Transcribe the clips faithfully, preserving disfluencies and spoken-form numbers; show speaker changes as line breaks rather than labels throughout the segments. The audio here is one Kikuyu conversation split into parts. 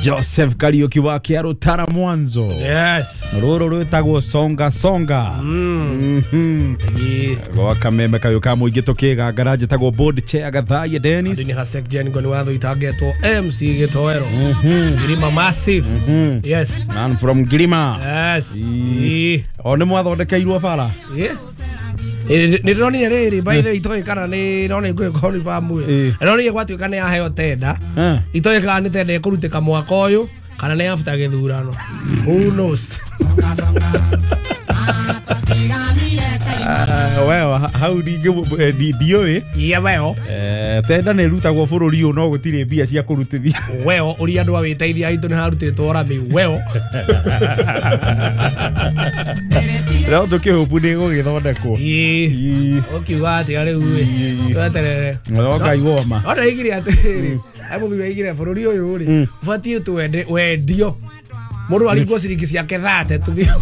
Joseph Kariuki wa Kiarutara mwanzo.
Yes.
Ruru rwitagwo songa songa.
Mm.
Mhm. Gwa kameme kayo ka muingi tukigangara njitagwo board chair Gathaiya Dennis.
Ndini Hasek Jen ngoni watho itagetwo M C Gitoero. Ngirima massive. Yes.
Man from Ngirima.
Yes.
O ni mwathondekeirwo bara.
Yeah. Nä ndäronire rä rä by the way itoä kana nä rona ngå confirm ä ndäronire gwatuä ka nä yaheo tenda itoä kana nä tenda ä kå rutä ka mwaka å yå kana nä after gä thurano. Who knows.
Well, hau ndingä ndiå
Yeah, well.
Tenda nä rutagwo bå rå ri å no gå tirä mbia cia kå rutithia.
Well, å ria andå a wä teithia aitå nä harutä two rami. Well.
No tå kä hå pu nä gå gä thondekwo.
Å kiuga atä a rä u ä tweterere.
No Ngai woma.
No ndaigire atä rä ai må thuri aigire bå rå ri å yå rä å batiä tå wendio må ndå aringwo ciringi ciake thate tå thiä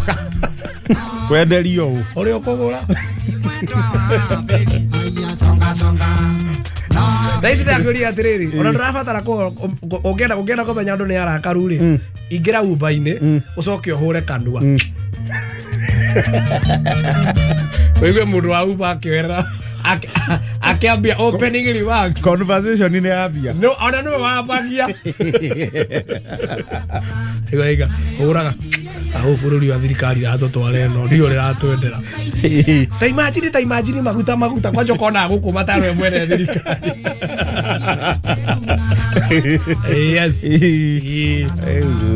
wenderio å
å rä a å kå gå ra thaa ici ndakwä atä rä rä ona ndå rabatara å ngä enda kå menya andå nä arakaru rä ingä ra umba-inä å coke å hå re kanua wĩigue mũndũ wa Uber akĩoerera akĩambia opening remarks.
Conversation nä yambia.
No ona nĩwe wambagia. Iga iga hũraga aho bũrũri wa thirikari ratũtwara ĩno ndio rĩratwendera. Ta imagine ta imagine maguta maguta kwanja ũkona gũkũ matarwe mwene thirikari. Yes.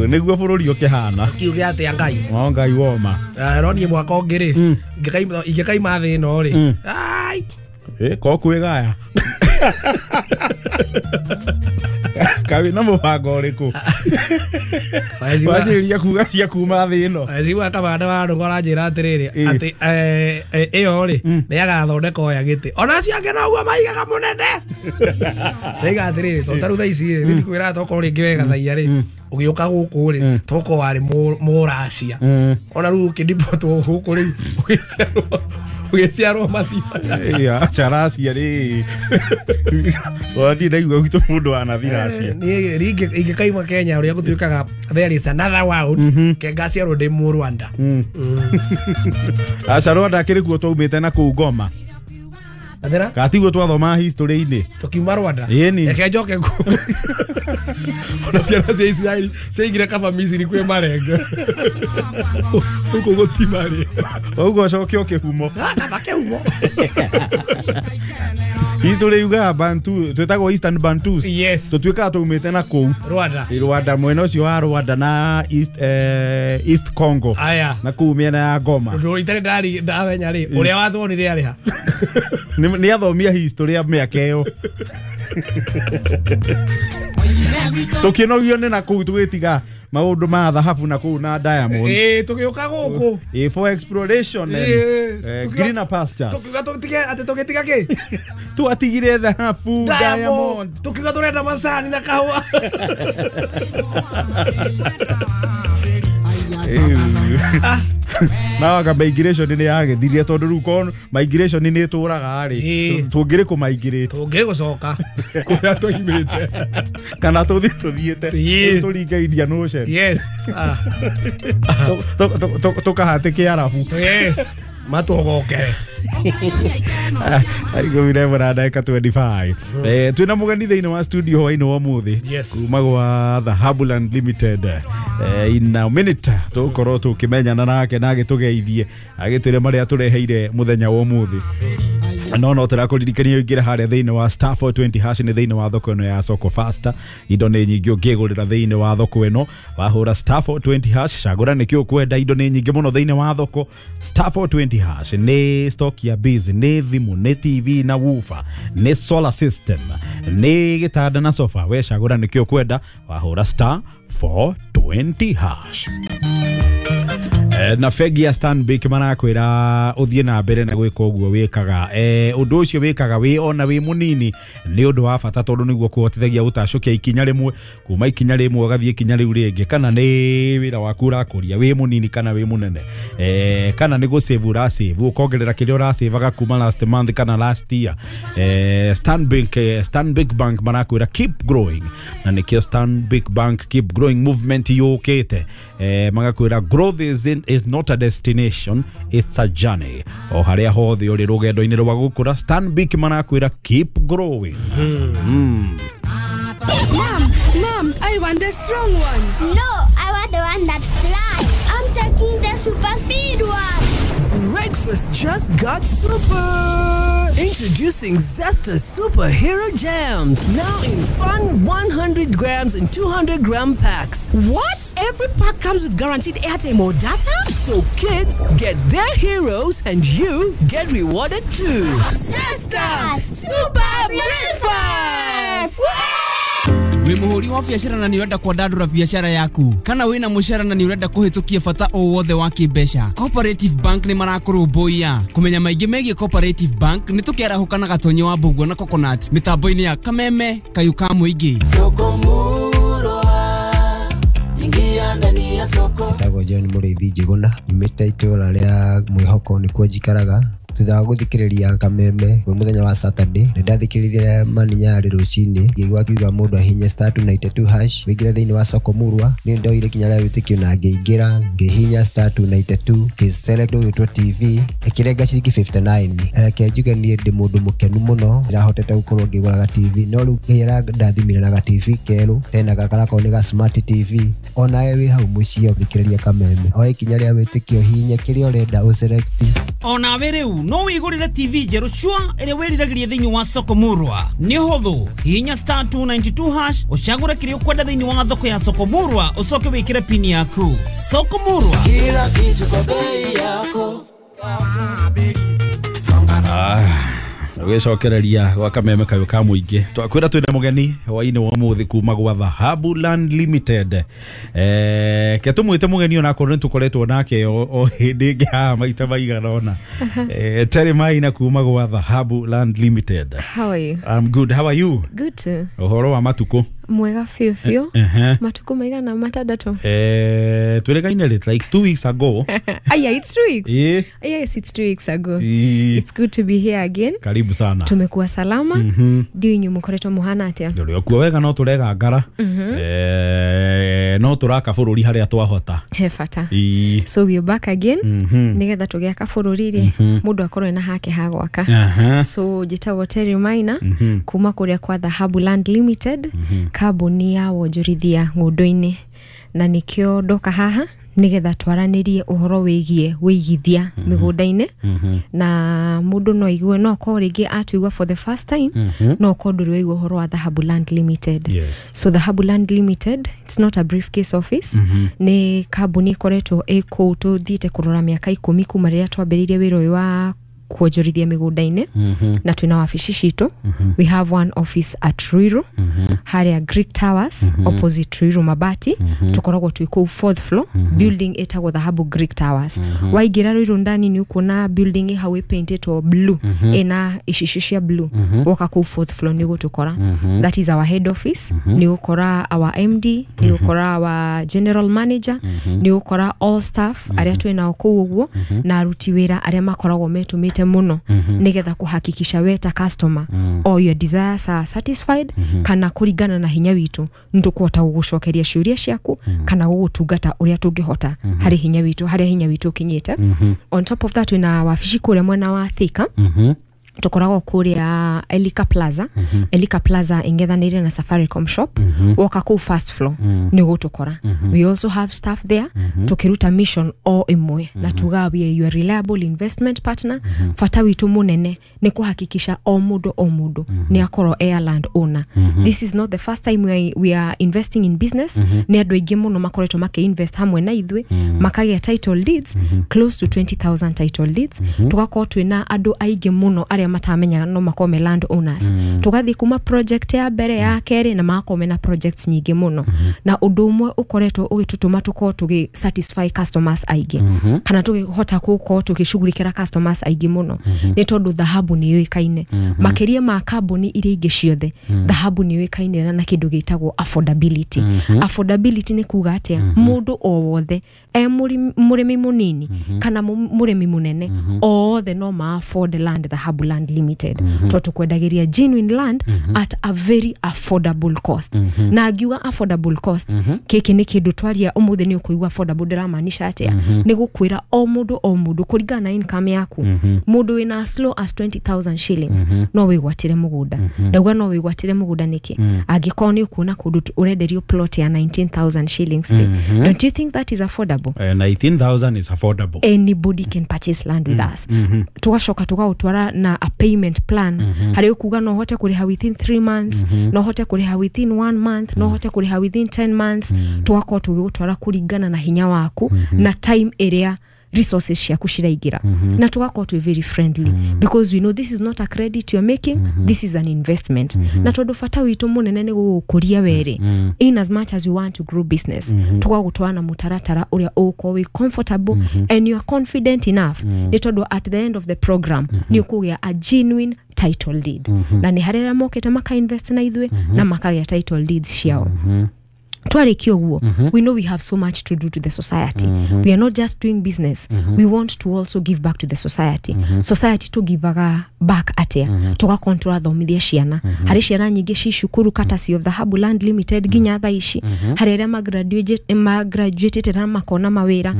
Nĩguo bũrũri ũkĩhana.
Kiuge atĩa Ngai.
No Ngai woma.
Ronnie mwaka ũngĩ rĩ ingĩkaima thĩ ĩno rĩ. Ai.
Eh ko kwĩgaya. Kawi na mũbango ũrĩkũ? Wanjĩrĩria kuga cia kuma thĩ ĩno.
Ecigua kamanda wa ndũgũ aranjĩra atĩrĩrĩ atĩ ĩyo rĩ nĩ agathondeka oya gĩtĩ. Ona acio angĩ noguo maigaga mũnene. Ndaiga atĩrĩrĩ tondũ ta rĩu thaa ici rĩ niĩ ndikwĩraga tokorwo rĩngĩ we Gathaiya rĩ ũgĩũka gũkũ rĩ tokorwo warĩ mũracia. Ona rĩu ũkĩndipotwo gũkũ rĩu ũgĩciarwo ũgĩciarwo mathima.
Acha racia rĩ. Wadi ndaigua gwitũ mũndũ wanathi racia.
Niĩ ingĩkaima Kenya ũrĩa gũtuĩkaga there is another world ke ngaciarwo ndĩ mũ Rwanda.
Aca Rwanda kĩrĩ kuo twaumĩte na kũu Goma.
Athera?
Katiguo twathoma history-inĩ.
Tũkiuma Rwanda.
Ĩni.
Reke njoke kuo. Ona ciana cia Isiraeli ciaigire kaba Misiri kwĩ marenge. Gũkũ gũtimarĩ.
Ũguo ũcoke ũkĩhumo.
Kaba kĩhumo.
History yugaga Bantu twĩtagwo Eastern Bantus.
Yes.
Tũtuĩkaga twaumĩte na kũu
Rwanda.
Rwanda mwena ũcio wa Rwanda na East eh, East Congo.
Aya.
Na kũu mĩena ya Goma.
Ũndũ itarĩ ndari ndamenya rĩ ũrĩa watwonire arĩ ha.
Nĩ athomia history ya mĩaka ĩyo. Tũkĩnogio nĩ na kũu tũgĩtiga maũndũ ma thahabu na kũu na diamond.
Ĩĩ tũgĩũka gũkũ.
Ĩĩ for exploration and eh, greener pastures.
Tũkiuga tũtige atĩ tũgĩtiga kĩ?
Twatigire thahabu, diamond.
Tũkiuga tũrenda macani na kahũa.
Na waka migration nĩ yagĩthirie tondũ rĩu korwo migration nĩ ĩtũraga rĩ tũngĩrĩ kũ migrate
tũngĩrĩ gũcoka kũrĩa tũimĩte
kana tũthiĩ tũthiĩte tũringe Indian Ocean.
Yes.
Tũkahatĩke Arabu.
Yes. Matũgokere.
Ikũmi na ĩmwe na ndagĩka twenty-five. Eh twĩna mũgeni thĩinĩ wa studio hwainĩ wa ũmũthĩ kuma gwa Thahabuland Limited. Eh in a minute tũgũkorwo tũkĩmenyana nake na agĩtũgeithie agĩtwĩre marĩa tũreheire mũthenya wa ũmũthĩ. No no tũrakũririkania ũingĩre harĩa thĩinĩ wa star four twenty hash nĩ thĩinĩ wa thoko ĩno ya Soko Faster. Indo nĩ nyingĩ ũngĩgũrĩra thĩinĩ wa thoko ĩno wahũra star four twenty hash cagũra nĩkĩ ũkwenda. Indo nĩ nyingĩ mũno thĩinĩ wa thoko. Star four twenty hash nĩ stock ya biz, nĩ thimũ, nĩ T V na woofer, nĩ solar system, nĩ gĩtanda na sofa. We cagũra nĩkĩ ũkwenda wahũra star four twenty hash. Na bengi ya Stanbic marakwĩra ũthiĩ na mbere na gwĩka ũguo wĩkaga. Eh, ũndũ ũcio wĩkaga wĩ ona wĩ mũnini nĩ ũndũ wa bata tondũ nĩguo kũhotithagia gũtacũkia ikinya rĩmwe kuma ikinya rĩmwe ũgathiĩ ikinya rĩu rĩngĩ, kana nĩ wĩra waku ũrakũria wĩ mũnini kana wĩ mũnene, eh, kana nĩ gũsave ũrasave ũkongerera kĩrĩa ũrasevaga kuma last month kana last year. Eh, Stanbic, eh, Stanbic Bank marakwĩra keep growing, na nĩkĩo Stanbic Bank keep growing movement yũkĩte. Eh, magakwĩra growth is, in, is not a destination, it's a journey. O harĩa hothe ũrĩ rũgendo-inĩ rwa gũkũra, Stanbic marakwĩra keep growing. Mm. Mm.
Mom, Mom, I want the strong one.
No, I want the one that flies. I'm taking the super speed one.
Breakfast just got super. Introducing Zesta Superhero Jams, now in fun one hundred grams and two hundred gram packs.
What? Every pack comes with guaranteed airtime or data?
So kids get their heroes and you get rewarded too.
Zesta Super Breakfast!
Wĩ mũhũri wa biacara na nĩ ũrenda kwandandũra biacara yaku, kana wĩna mũcara na nĩ ũrenda kũhĩtũkia bata o wothe wa kĩmbeca, Cooperative Bank nĩ marakũrũmbũiya. Kũmenya maingĩ megiĩ Cooperative Bank nĩ tũkĩarahũka na Gatonye wa Mbũguo na Coconut mĩtambo-inĩ ya Kameme Kayũ ka Mũingĩ.
Soko murwa, ingia ndani ya soko.
Njĩtagwo John Mũrĩithi Njĩgũna, nyumĩte itũũra rĩa Mwĩhoko nĩkuo njikaraga. Thutha wa gũthikĩrĩria Kameme kwĩ mũthenya wa Saturday, nĩ ndathikĩrĩirie Maninyarĩ rũcinĩ, ngĩigua akiuga mũndũ ahinye star two ninety two hash wĩingĩre thĩinĩ wa soko murwa. Nĩ ndoire ikinya rĩa wĩtĩkio na ngĩingĩra, ngĩhihinya star two ninety two, ngĩselect ũgĩtwo T V, ĩkĩrenga ciringi fifty nine. Reke njuge niĩ ndĩ mũndũ mũkenu mũno, ndĩrahotete gũkorwo ngĩgũraga T V, no rĩu Ngai arandathimire na ga T V kerũ, tena gaka garakorwo nĩ ga smart T V. Onawe wĩ hau mũciĩ ũthikĩrĩria Kameme, oe ikinya rĩa wĩtĩkio, hihinya kĩrĩa ũrenda ũselect.
Onawe rĩu no wĩgũrĩre T V njerũ cua ĩrĩa wĩriragĩria thĩinĩ wa soko murwa. Nĩ ũhũthũ, hihinya star two ninety two hash ũcagũre kĩrĩa ũkwenda thĩinĩ wa thoko ya soko murwa, ũcoke wĩkĩre pini yaku. Soko murwa,
kila kitu kwa bei yako.
Ah, gwicokereria gwa Kameme Kayũ ka Mũingĩ. Twakwĩra twĩna mũgeni hwainĩ wa ũmũthĩ kuma gwa Dhahabu Land Limited. Eh, ke tũmwĩte mũgeni onakorwo nĩ tũkoretwo nake o hĩndĩ ĩngĩ haha maita maigana ũna. Eh, Terry Maina kuma gwa Dhahabu Land Limited.
How are you?
I'm good. How are you?
Good too.
Ũhoro wa matukũ?
Mwega fiũ fiũ.
Uh-huh.
Matukũ maigana matandatũ.
Eh, twĩrĩgaine rĩ like two weeks ago.
Aya, it's two weeks.
Yeah.
Yes, it's two weeks ago.
Yeah.
It's good to be here again.
Karibu sana.
Tumekuwa salama.
Mm-hmm.
Ndiũ inyuĩ mũkoretwo mũhana atĩa?
Ndũrĩ okuo wega no tũrega ngara.
Mm-hmm.
Eh, no tũraka bũrũri harĩa twahota.
He bata.
Ii.
So we are back again.
Mm-hmm.
Nĩgetha tũgĩaka bũrũri rĩ,
mm-hmm.
mũndũ akorwo ena hake ha gwaka.
Uh-huh.
So njĩtagwo Terry Maina,
mm-hmm.
kuma kũrĩa kwa Dhahabu Land Limited,
mm-hmm.
kambuni ya wonjorithia ng'ũndũ-inĩ, na nĩkĩo ndoka haha nĩgetha twaranĩrie ũhoro wĩgiĩ wĩigithia
mm-hmm.
mĩgũnda-inĩ.
mm-hmm.
Na mũndũ no aigue, no akorwo rĩngĩ atuigua for the first time,
mm-hmm.
no akorwo ndũrĩ waigua ũhoro wa Dhahabu Land Limited.
Yes.
So Dhahabu Land Limited, it's not a briefcase office.
mm-hmm.
Nĩ kambuni ĩkoretwo ĩ kũu tũthiĩte kũrora mĩaka ikũmi kuma rĩrĩa twambĩrĩirie wĩra ũyũ wa kuonjorithia mĩgũnda-inĩ.
mm-hmm.
Na twĩna wabici citũ.
mm-hmm.
We have one office at Ruiru,
mm-hmm.
harĩa Greek Towers,
mm-hmm.
opposite Ruiru Mabati.
mm-hmm.
Tũkoragwo twĩ kũu fourth floor,
mm-hmm.
building ĩtagwo Dhahabu Greek Towers.
mm-hmm.
Waingĩra Ruiru ndani nĩ ũkuona building ĩ hau ĩpaintĩtwo blue,
mm-hmm.
ĩna icicio cia blue.
mm-hmm.
Woka kũu fourth floor nĩ ũgũtũkora.
mm-hmm.
That is our head office.
mm-hmm.
Nĩ ũgũkora our M D, nĩ ũgũkora our general manager,
mm-hmm.
nĩ ũgũkora all staff
mm-hmm.
arĩa twĩ nao kũu ũguo,
mm-hmm.
na aruti wĩra arĩa makoragwo metũmĩte muno,
mm-hmm.
nigetha kuhakikisha we ta customer,
mm-hmm.
all your desires are satisfied,
mm-hmm.
kana kuringana na hinya witu nitukuhota gugucokeria ciuria ciaku,
mm-hmm.
kana gugutungata uria tungihota,
mm-hmm.
hari hinya witu, haria hinya witu ukinyite.
mm-hmm.
On top of that wina wabici kuria mwena wa Thika.
mm-hmm.
Tukoragwo kuria Elika Plaza.
mm-hmm.
Elika Plaza ingethanĩire na Safaricom shop.
mm-hmm.
Woka kũu first floor,
mm-hmm.
nĩ ũgũtũkora.
mm-hmm.
We also have staff there.
mm-hmm.
Tukiruta mission o ĩmwe,
mm-hmm.
na tuga we are your reliable investment partner.
mm-hmm.
Bata witũ mũnene nĩ kũhakikisha o mũndũ o mũndũ
mm-hmm.
nĩ akorwo air land owner.
mm-hmm.
This is not the first time we are, we are investing in business.
mm-hmm.
Nĩ andũ aingĩ mũno makoretwo makĩ-invest hamwe na ithuĩ,
mm-hmm.
makagĩa title deeds,
mm-hmm.
close to twenty thousand title deeds.
mm-hmm.
Tugakorwo twĩna andũ aingĩ mũno arĩa arĩa matamenyaga no makorwo me land owners.
Mm.
Tũgathiĩ kuma project ya mbere ya kerĩ na magakorwo mena projects nyingĩ mũno. Na ũndũ ũmwe ũkoretwo ũgĩtũtũma tũkorwo tũgĩ satisfy customers aingĩ
Mhm.
kana tũkĩhota gũkorwo tũgĩcugurikĩra customers aingĩ mũno
Mhm.
nĩ tondũ dhahabu nĩ yũĩkaine
Mhm.
makĩria ma kambuni iria ingĩ ciothe.
Mm.
Dhahabu nĩ yũĩkaine na kĩndũ gĩtagwo affordability.
Mhm.
Affordability nĩ kuga atĩa? Mũndũ o wothe e mũrĩmi mũrĩmi mũnini kana mu- mũrĩmi mũnene, othe no ma afford land Dhahabu Land Limited, tondũ tũkwendagĩria genuine land at a very affordable cost. Na ngiuga affordable cost, gĩkĩ nĩ kĩndũ twaria ũmũthĩ nĩ ũkũigua affordable ndĩramaanisha atĩa. Nĩ gũkwĩra o mũndũ o mũndũ kũringana na income yaku, mũndũ wĩna as low as twenty thousand shillings no wĩgwatĩre mũgũnda. Ndauga no wĩgwatĩre mũgũnda nĩkĩ? Angĩkorwo nĩ ũkuona kũndũ ũrenderio plot ya nineteen thousand shillings rĩ, don't you think that is affordable?
Eh, nineteen thousand is affordable.
Anybody can purchase land with us. Tugacoka tugaũtwara na a payment plan harĩ ũkuga no ũhote kũrĩha within three months, no ũhote kũrĩha within one month, no ũhote kũrĩha within ten months. Tugakorwo tũgĩgũtwara kũringana na hinya waku na time ĩrĩa resources ciaku ciraingĩra, na tugakorwo twĩ very friendly because we know this is not a credit you're making, this is an investment. Na tondũ bata witũ mũnene nĩ gũgũkũria werĩ, in as much as we want to grow business, tũgagũtwara na mũtaratara ũrĩa ũgũkorwo wĩ comfortable and you are confident enough, nĩ tondũ at the end of the program nĩ ũkũgĩa a genuine title deed. Na nĩ harĩ arĩa mokĩte makainvest na ithuĩ na makagĩa title deeds ciao. Twarĩkia ũguo, we know we have so much to do to the society. We are not just doing business, we want to also give back to the society. Society tũgivaga back atĩa? Tũgakorwo tũrathomithia ciana. Harĩ ciana nyingĩ ci cukuru courtesy of Dhahabu Land Limited nginya thaa ici. Harĩ arĩa magraduate magraduatĩte na makona mawĩra.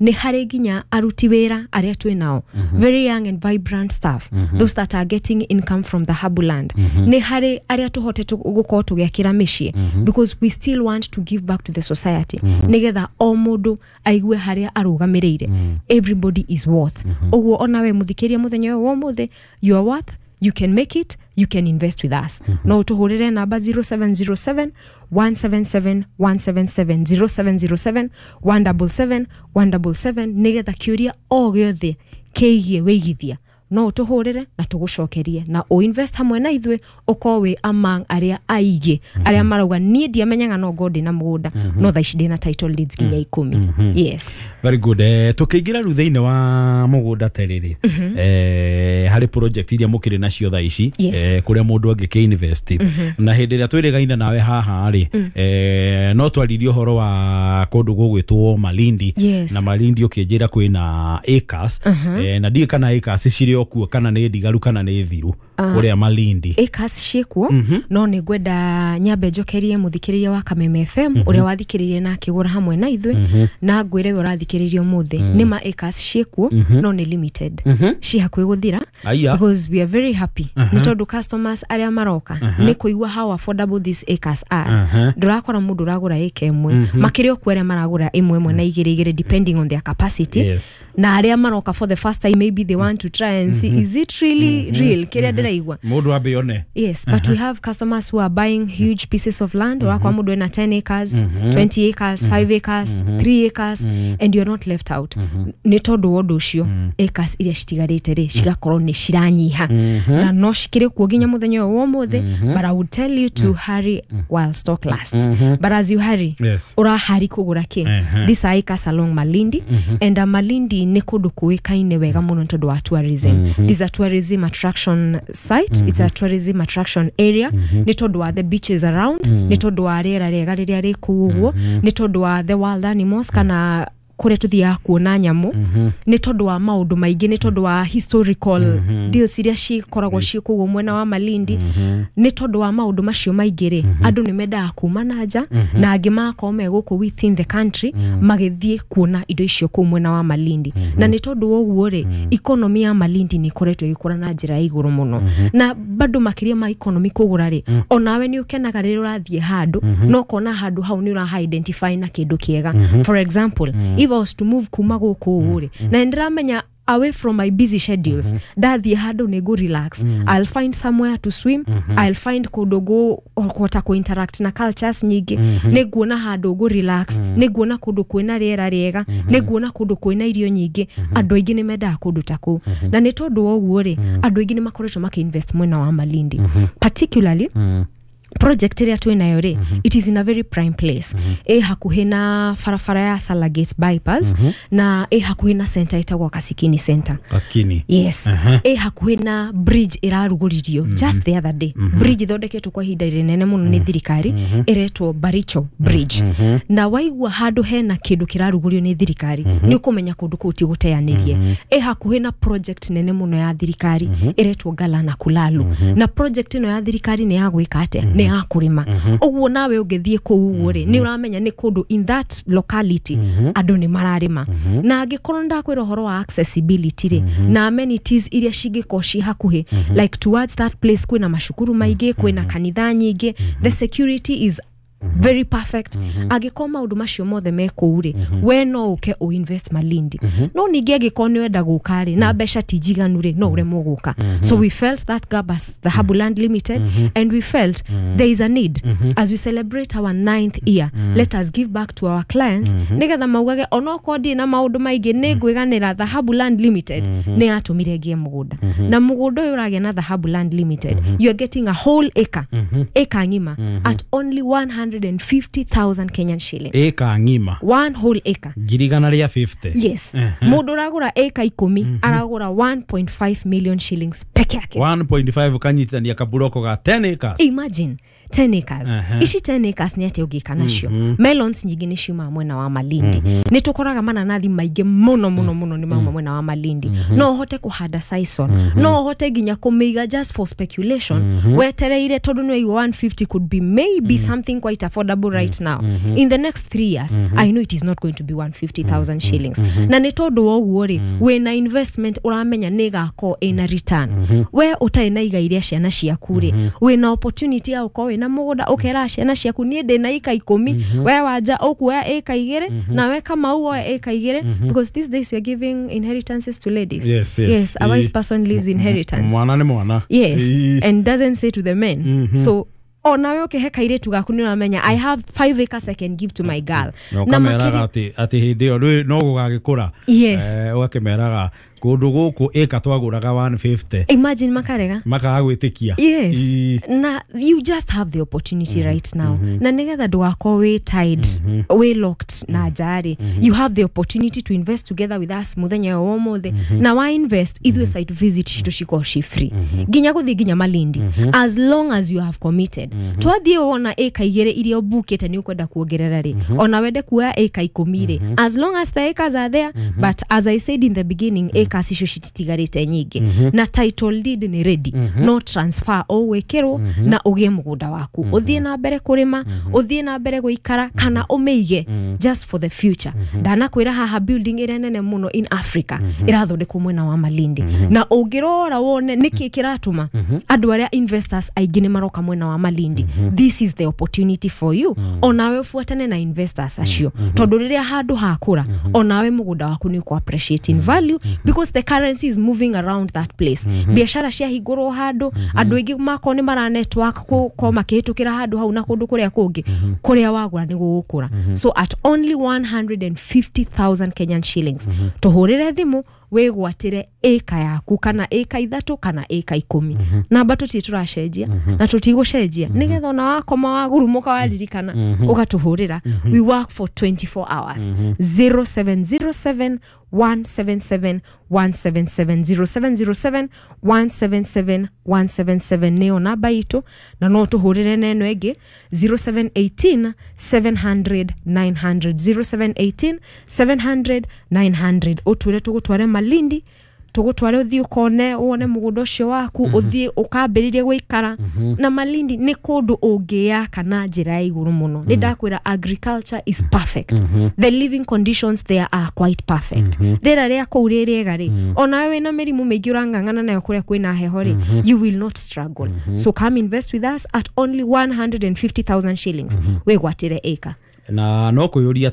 Nĩ harĩ nginya aruti wĩra arĩa twĩ nao, very young and vibrant staff, those that are getting income from Dhahabu Land. Nĩ harĩ arĩa tũhotete gũkorwo tũgĩakĩra mĩciĩ, because we still want to give back to the society, nĩgetha o mũndũ aigue harĩa arũgamĩrĩire. Everybody is worth. Ũguo onawe mũthikĩria mũthenya ũyũ wa ũmũthĩ, you are worth. You can make it, you can invest with us. No ũtũhũrĩre namba zero seven zero seven one seven seven one seven seven, zero seven zero seven one seven seven one seven seven, nĩgetha kĩũria o gĩothe kĩgiĩ wĩigithia no ũtũhũrĩre na tũgũcokerie na ũinvest hamwe na ithuĩ, ũkorwo wĩ among arĩa aingĩ arĩa marauga niĩ ndiamenyaga no ngorwo ndĩna mũgũnda, no thaa ici ndĩna title deeds nginya ikũmi. Yes.
Very good. eh, tukĩingĩra rĩu thĩinĩ wa mũgũnda terĩrĩ, eh, harĩ project iria mũkĩrĩ nacio thaa ici
Yes.
eh, kũrĩa mũndũ angĩkĩ invest. Na hĩndĩ ĩrĩa twĩrĩgaine nawe haha rĩ, eh, no twaririe ũhoro wa kũndũ gũgwĩtwo Malindi.
Yes.
Na Malindi ũkĩnjĩra kwĩna acres, eh, na ndiũĩ kana acres cirĩ o kuo kana nĩ ndigaru kana nĩ thiru kũrĩa Malindi.
Acres ciĩkuo, no nĩ ngwenda nyambe njokerie mũthikĩrĩria wa Kameme F M ũrĩa wathikĩrĩirie na akĩgũra hamwe na ithuĩ, na ngwĩre we ũrathikĩrĩria ũmũthĩ, nĩ ma acres ciĩkuo, no nĩ limited, ci hakuhĩ gũthira.
Aya.
Because we are very happy nĩ tondũ customers arĩa maroka nĩ kũigua how affordable these acres are. Ndũrakora mũndũ ũragũra ĩka ĩmwe, makĩrĩ okuo arĩa maragũra ĩmwe ĩmwe na igĩrĩ igĩrĩ, depending on their capacity.
Yes.
Na arĩa maroka for the first time, maybe they want to try and see, is it really real kĩrĩa ndĩraigua?
Mũndũ ambe one.
Yes, but we have customers who are buying huge pieces of land. Urakora mũndũ ena ten acres, twenty acres, five acres, three acres, and you're not left out. Nĩ tondũ wa ũndũ ũcio, acres iria citigarĩte rĩ cigakorwo nĩ ciranyiha na no cikĩrĩ kuo nginya mũthenya ũyũ wa ũmũthĩ. But I would tell you to hurry while stock lasts. But as you hurry,
Yes.
ũrahari kũgũra kĩ?
Ehe.
These are acres along Malindi, and uh, Malindi nĩ kũndũ kũĩkaine wega mũno nĩ tondũ wa tourism. This is a tourism attraction site, it's a tourism attraction area, nĩ tondũ wa the beaches around, nĩ tondũ wa rĩera rĩega rĩrĩa rĩ kũu ũguo, nĩ tondũ wa the wild animals kana kũrĩa tũthiaga kuona nyamũ, nĩ tondũ wa maũndũ maingĩ, nĩ tondũ wa historical deals iria cikoragwo ciĩ kũu mwena wa Malindi. Nĩ tondũ wa maũndũ macio maingĩ rĩ, andũ nĩ mendaga kuma na nja na angĩ magakorwo me gũkũ within the country magĩthiĩ kuona indo icio kũu mwena wa Malindi. Na nĩ tondũ wa ũguo rĩ, economy ya Malindi nĩ ĩkoretwo ĩgĩkũra na njĩra ya igũrũ mũno. Na bado makĩria ma economy kũgũra rĩ, onawe nĩ ũkenaga rĩrĩa ũrathiĩ handũ no ũkona handũ hau nĩ ũraha identify na kĩndũ kĩega. For example, if I was to move kuma gũkũ ũũ rĩ, na nĩ ndĩramenya Away from my busy schedules, ndathiĩ handũ nĩ ngũ relax. I'll find somewhere to swim, I'll find kũndũ ngũhota kũ interact na cultures nyingĩ, nĩ nguona handũ ngũ relax, nĩ nguona kũndũ kwĩna rĩera rĩega, nĩ nguona kũndũ kwĩna irio nyingĩ. Andũ aingĩ nĩ mendaga kũndũ ta kũu, na nĩ tondũ wa ũguo rĩ, andũ aingĩ nĩ makoretwo makĩinvest mwena wa Malindi, particularly project ĩrĩa twĩnayo rĩ, it is in a very prime place. Ĩ hakuhĩ na barabara ya Salagate bypass, na ĩ hakuhĩ na center ĩtagwo Kasikini Center.
Kaskini.
Yes.
Aha.
Ĩ hakuhĩ na bridge ĩrarugũririo just the other day, bridge ĩthondeketwo kwa ihinda rĩnene mũno nĩ thirikari, ĩretwo Baricho Bridge. Na waigua handũ hena kĩndũ kĩrarugũrio nĩ thirikari, nĩ ũkũmenya kũndũ kũu ti gũteanĩrie. Ĩ hakuhĩ na project nene mũno ya thirikari ĩretwo Galana Kulalu, na project ĩno ya thirikari nĩ ya gwĩka atĩa? Nĩ ya kũrĩma. Ũguo nawe ũngĩthiĩ kũu ũguo rĩ, nĩ ũramenya nĩ kũndũ in that locality andũ nĩ mararĩma. Na angĩkorwo ndakwĩra ũhoro wa accessibility rĩ, na amenities iria cingĩkorwo ci hakuhĩ, like towards that place kwĩna macukuru maingĩ, kwĩna kanitha nyingĩ, the security is very perfect. Angĩkorwo maũndũ macio mothe me kũu rĩ, we no ũke ũinvest Malindi. No ningĩ angĩkorwo nĩ wenda gũka rĩ, na mbeca ti njiganu rĩ, no ũremwo gũka. So we felt that gap as Dhahabu Land Limited, and we felt there is a need. As we celebrate our ninth year, let us give back to our clients, nĩgetha maugage onokorwo ndirĩ na maũndũ maingĩ, nĩ ngwĩganĩra Dhahabu Land Limited nĩ yatũmire ngĩe mũgũnda. Na mũgũnda ũyũ ũragĩa na Dhahabu Land Limited, you are getting a whole acre, acre ng'ima, at only one hundred fifty thousand Kenyan shillings.
Ĩka ng'ima.
One whole acre.
Ngiri igana rĩa fifty.
Yes. Mũndũ ũragũra acre ikũmi aragũra one point five million shillings peke yake.
one point five kanyitithania kaburoko ga ten acres.
Imagine ten acres.
Aha.
Ici ten acres nĩ atĩa ũngĩka nacio? Melons nyingĩ nĩ ciumaga mwena wa Malindi. Nĩ tũkoraga mananathi maingĩ mũno mũno mũno nĩ mauma mwena wa Malindi. No ũhote kũhanda sisal, no ũhote nginya kũmĩiga just for speculation, wetereire, tondũ nĩ waigua one fifty could be maybe something quite affordable right now. In the next three years, I know it is not going to be one hundred fifty thousand shillings. Na nĩ tondũ wa ũguo rĩ, wĩna investment ũramenya nĩ ĩgakorwo ĩna return. We ũtarĩ na igai rĩa ciana ciaku rĩ, wĩna opportunity ya gũkorwo wĩna mũgũnda, ũkera ciana ciaku, niĩ ndĩna ika ikũmi, we Wanja ũkuoya ĩka igĩrĩ, na we Kamau woe ĩka igĩrĩ, because these days we are giving inheritances to ladies.
Yes, yes.
Yes, a wise person leaves inheritance.
Mwana nĩ mwana.
Yes.
Ĩĩ.
And doesn't say to the men. So onawe ũkĩhe kairĩtu gaku, nĩ ũramenya, I have five acres I can give to my girl.
Na ũkameraga atĩ atĩ hĩndĩ ĩyo ndũĩ no gũgagĩkũra.
Yes.
Eh, ũgakĩmeraga kũndũ gũkũ ĩka twagũraga one fifty.
Imagine makarega.
Makaga gwĩtĩkia.
Yes.
Ĩĩ.
Na you just have the opportunity right now, na nigetha ndũgakorwo wĩ tied, wĩ locked na nja rĩ, you have the opportunity to invest together with us muthenya ũyũ wa ũmũthĩ. Na wa invest, ithuĩ site visit citũ cikorwo ci free, nginya gũthiĩ nginya Malindi, as long as you have committed. Twathiĩ wona ĩka igĩrĩ iria ũbukĩte nĩ ũkwenda kuongerera rĩ, ona wende kuoya ĩka ikũmi rĩ, as long as the acres are there. But as I said in the beginning, acres icio cititigarĩte nyingĩ, na title deed nĩ ready, no transfer ũgwĩkĩrwo na ũgĩe mũgũnda waku, ũthiĩ na mbere kũrĩma, ũthiĩ na mbere gũikara, kana ũmĩige just for the future. Ndanakwĩra haha building ĩrĩa nene mũno in Africa ĩrathondekwo mwena wa Malindi, na ũngĩrora wone nĩkĩ kĩratũma andũ arĩa investors aingĩ nĩ maroka mwena wa Malindi. This is the opportunity for you onawe ũbuatane na investors acio, tondũ rĩrĩa handũ hakũra, onawe mũgũnda waku nĩ ũkũ appreciate in value, because the currency is moving around that place. Biashara ciahingũrwo handũ, andũ aingĩ makorwo nĩ mara network gũkorwo makĩhĩtũkĩra handũ hau na kũndũ kũrĩa kũngĩ, kũrĩa wagũra nĩ gũgũkũra. So at only one hundred fifty thousand Kenyan shillings, tũhũrĩre thimũ wĩgwatĩre ĩka yaku, kana ĩka ithatũ, kana ĩka ikũmi. Namba tũtirĩ tũracenjia na tũtigũcenjia, nĩgetha ona wakoma wagurumũka waririkana ũgatũhũrĩra. We work for twenty-four hours. zero seven zero seven one seven seven one seven seven, zero seven zero seven one seven seven one seven seven nĩyo namba itũ, na no tũhũrĩre na ĩno ĩngĩ, zero seven one eight seven hundred nine hundred, zero seven one eight seven hundred nine hundred. Ũtwĩre tũgũtware Malindi, tũgũtware ũthiĩ ũkone, wone mũgũnda ũcio waku, ũthiĩ ũkambĩrĩrie gũikara. Na Malindi nĩ kũndũ ũngĩyaka na njĩra ya igũrũ mũno. Nĩ ndakwĩra agriculture is perfect, the living conditions there are quite perfect. Rĩera rĩa kũu rĩ rĩega rĩ, onawe wĩna mĩrimũ mĩingĩ ũrang'ang'ana nayo kũrĩa kwĩna heho rĩ, you will not struggle. So come invest with us at only one hundred fifty thousand shillings, wĩgwatĩre ĩka.
Na no kuyuria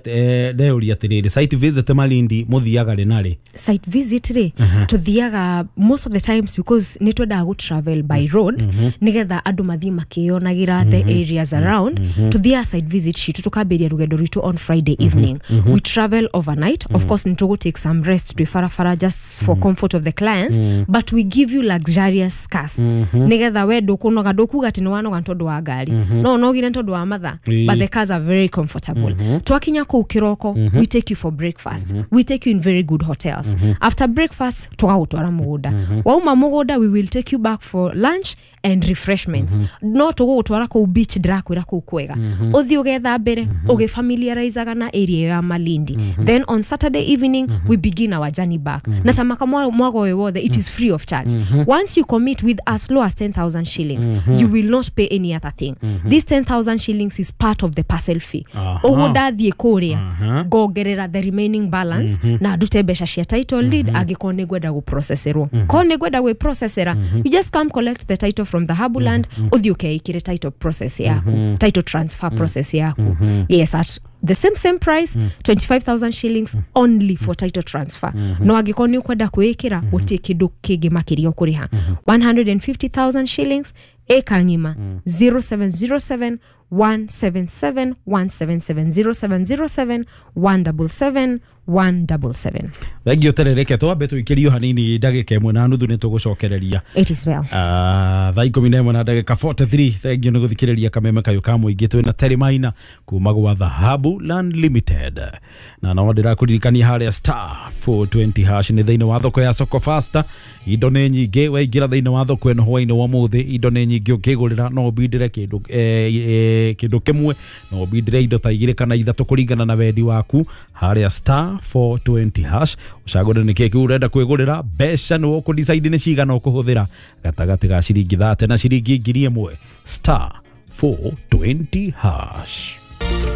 ndeyuria atiriri, site visit Malindi muthiaga ri nari?
Site visit ri tuthiaga most of the times because nĩ twendaga gũ travel by road nigetha andũ mathiĩ makĩonagira the areas around. Tuthiaga site visit citu tukambĩrĩria rũgendo rwitũ on Friday evening. We travel overnight. Of course nĩ tũgũ take some rest twĩ barabara just for comfort of the clients, but we give you luxurious cars nigetha we ndũkũnoga, ndũkuga atĩ nĩ wanoga nĩ tondũ wa ngari, no ũnogire nĩ tondũ wa mathaa, but the cars are very comfortable. Twakinya kũu kĩroko, we take you for breakfast. We take you in very good hotels. After breakfast tũgagũtwara mũgũnda. Wauma mũgũnda, we will take you back for lunch and refreshments. No tũgũgũtwara kũu beach, ndĩrakwĩra kũu kwega, ũthiĩ ũgethambĩre, ũgĩfamiliarizaga na area ĩyo ya Malindi. Then on Saturday evening we begin our journey back. Na tamaka mwago ũyũ wothe, it is free of charge. Once you commit with as low as ten thousand shillings, you will not pay any other thing. This ten thousand shillings is part of the parcel fee. Ũguo ndathiĩ kũrĩa ngongerera the remaining balance na ndute mbeca cia title deed angĩkorwo nĩ ngwenda gũprocesserwo. Korwo nĩ ngwenda gwĩprocessera, you just come collect the title from the Dhahabuland, ũthiĩ ũkeĩkĩre title process yaku, title transfer process yaku. Yes, at the same same price, twenty-five thousand shillings only for title transfer. No angĩkorwo nĩ ũkwenda kwĩĩkĩra, gũtirĩ kĩndũ kĩngĩ makĩria ũkũrĩha. one hundred and fifty thousand shillings, eka ng'ima, zero seven zero seven one seven seven one seven seven, zero seven zero seven one double seven one double seven.
Thengio terereke twambe tũikĩrio hanini ndagĩka ĩmwe na nuthu nĩ tũgũcokereria.
It is well.
Ah, thaa ikũmi na ĩmwe na ndagĩka forty-three. Thengio nĩ gũthikĩrĩria kameme kayũ ka mũingĩ. Twĩna Terry Maina kuma gwa Dhahabu Land Limited, na no ndĩrakũririkania harĩa star four twenty hash nĩ thĩinĩ wa thoko ya Soko Fasta. Indo nĩ nyingĩ, waingĩra thĩinĩ wa thoko ĩno hwainĩ wa ũmũthĩ, indo nĩ nyingĩ ũkĩgũrĩra. No ũbindĩre kĩndũ eh, eh, kĩndũ kĩmwe, no ũbindĩre indo ta igĩrĩ kana ithatũ kũringana na wendi waku harĩa star four twenty hash. Ũcagũre nĩ kĩĩ kĩu ũrenda kwĩgũrĩra, mbeca nĩ ũkũ decide nĩ cigana ũkũhũthĩra gatagatĩ ga ciringi thate na ciringi ngiri ĩmwe. Star four twenty hash.